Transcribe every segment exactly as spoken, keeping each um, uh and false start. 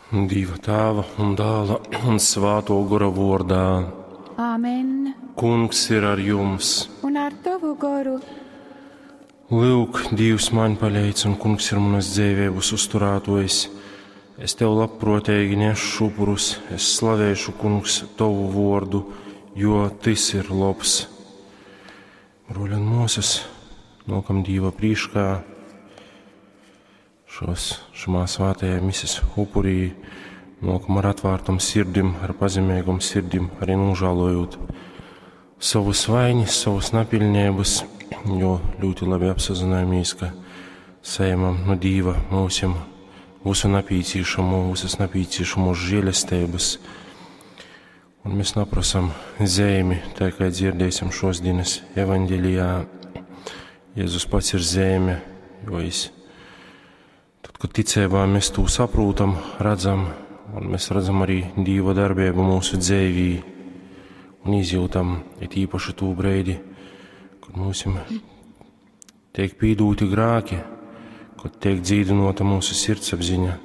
Dieva Tēva un Dēla un Svāto Gora vārdā. Āmen. Kungs ir ar jums. Un ar tavu goru. Lūk, Dievs man palīdz, un Kungs ir manas dzīvības uzturētojs. Es tev labprātīgi nešu upurus, es slavēšu, Kungs, tavu vārdu, jo tas ir labs. Broļi un māsas, nokam Dieva prīškā šos, šamā svētajā mises upurī, nokam ar atvērtam sirdim, ar pazemīgam sirdim, arī nožēlojot savus vainas, savus napilnības, jo ļoti labi apsazināmies, ka saņemam no Dieva mūsim visu napīcīšamo, visas napīcīšamos žēlestības. Un mēs naprasam zemi, tā kā dzirdēsim šos dienas evaņģelijā. Jēzus pats ir zeme, jo es Tad, kad ticībā mēs to saprotam, redzam, un mēs redzam arī Dieva darbību mūsu dzīvī un izjūtam, it īpaši to brīdi, kad mums tiek pīdūti grāki, kad tiek dzīdinota mūsu sirdsapziņa.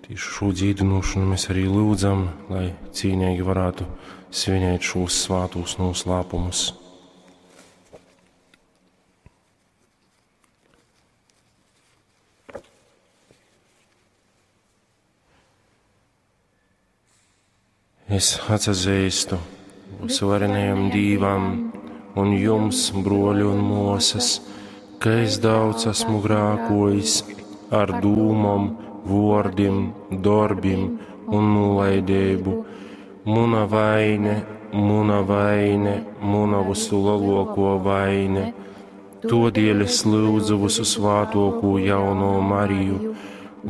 Tieši šo dzīdinošanu mēs arī lūdzam, lai cīnīgi varētu svinēt šos svātos noslēpumus. Es atzīstu visvarenajam Dievam un jums, broļi un māsas, ka es daudz esmu grākojis ar dūmom, vārdiem, darbiem un nolaidību. Muna vaine, muna vaine, muna visu lielāko vaine. Todēļ es lūdzu visu svātoko jauno Mariju,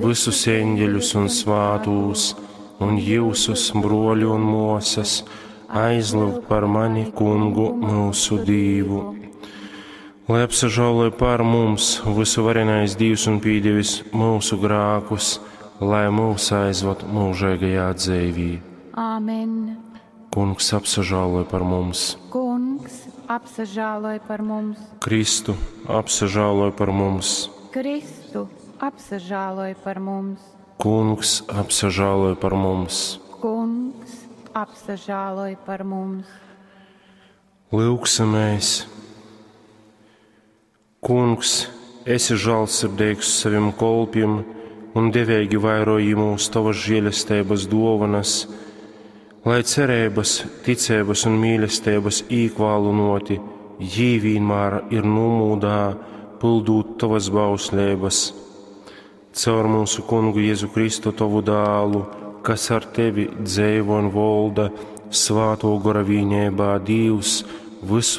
visus eņģeļus un svātūs, un jūsus, broļi un māsas, aizlūgt par mani, kungu, mūsu Dievu. Lai apsažāloja par mums visu varenais Dievs un pīdevis mūsu grākus, lai mūs aizvad mūžīgajā dzīvī. Āmen. Kungs apsažāloja par mums. Kungs apsažāloja par mums. Kristu apsažāloja par mums. Kristu apsažāloja par mums. Kungs apsažāloja par mums. Kungs apsažāloja par mums. Lūksimies! Kungs, esi žēlsirdīgs saviem kolpiem un devīgi vairoji mūs tavas žēlestības dovanas, lai cerības, ticības un mīlestības īkvālunoti, jī vienmēr ir nomūdā, pildūt tavas bauslības. Caur mūsu kungu Jēzu Kristu tavu dālu, kas ar tevi dzēvo un volda svāto gora vīnībā Dievs visu